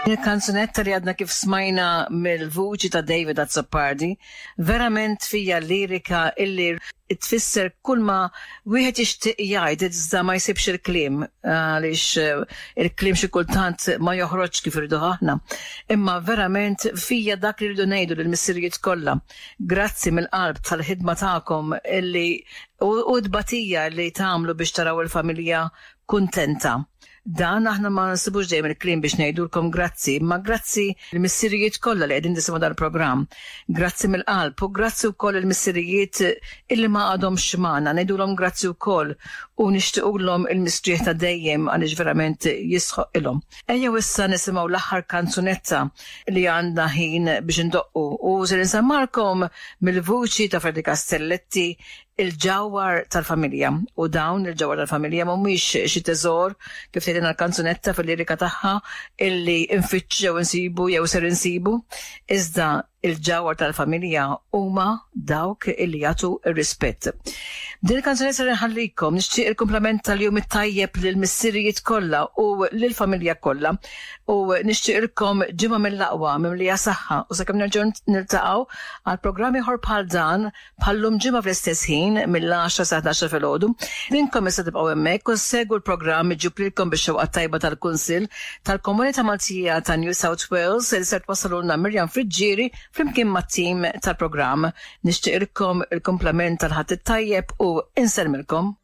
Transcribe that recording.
Il-kanzunetta li għadna kif smajna mill-vuċi ta' David Azzopardi verament fija lirika illi tfisser kull ma wieħed jixtieq jgħid iżda ma jsibx il-kliem għaliex eh, il-kliem xi kultant ma joħroġ kif irridu aħna. Imma verament fija dak li rridu ngħidu lill-missirijiet kollha. Grazzi mill-qalb tal-ħidma tagħkom illi u tbatija li tagħmlu biex taraw il-familja kuntenta. Dan aħna ma nsibux dejjem il-kliem biex ngħidulkom grazzi, imma grazzi l-missirijiet kollha li qegħdin tisimgħu dal-programm. Grazzi mill-qalb u grazzi wkoll il-missirijiet illi ma għadhomx magħna, ngħidulhom grazzi wkoll u nixtiequlhom il-mistrieħ ta' dejjem għaliex verament jistħoqqilhom. Ejjew issa nisimgħu l-aħħar kanzunetta li għandna ħin biex indoqqu u se nsemmalkom mill-vuċi ta' Freddy Castelletti il-ġawhar tal-familja. U dawn il-ġawhar tal-familja mhumiex xi teżor kif tgħidilna l-kanzunetta fil-lirika tagħha illi nfittxu jew insibu jew ser insibu, iżda il-ġawhar tal-familja huma dawk illi jagħtu r-rispett. B'din il-kanzunetta ser inħallikom, nixtieq il-kumplament tal-jum it-tajjeb lill-missirijiet kollha u lill-familja kollha u nixtieqilkom ġimgħa mill-aqwa mimlija saħħa u sakemm nerġgħu niltaqgħu għal programm ieħor bħal dan Bħal-lum ġimgħa fl-istess ħin, mill-għaxra sa 11 filgħodu, intom issa tibqgħu hemmhekk u ssegwu l-programm miġjub lilkom bix-xewqa t-tajba tal-Kunsill tal-Komunità Maltija ta' New South Wales li ser twassalulna Miriam Friggieri flimkien mat-tim tal-programm. Nixtieqilkom il-kumplament tal-Ħadd it-tajjeb u insellmilkom.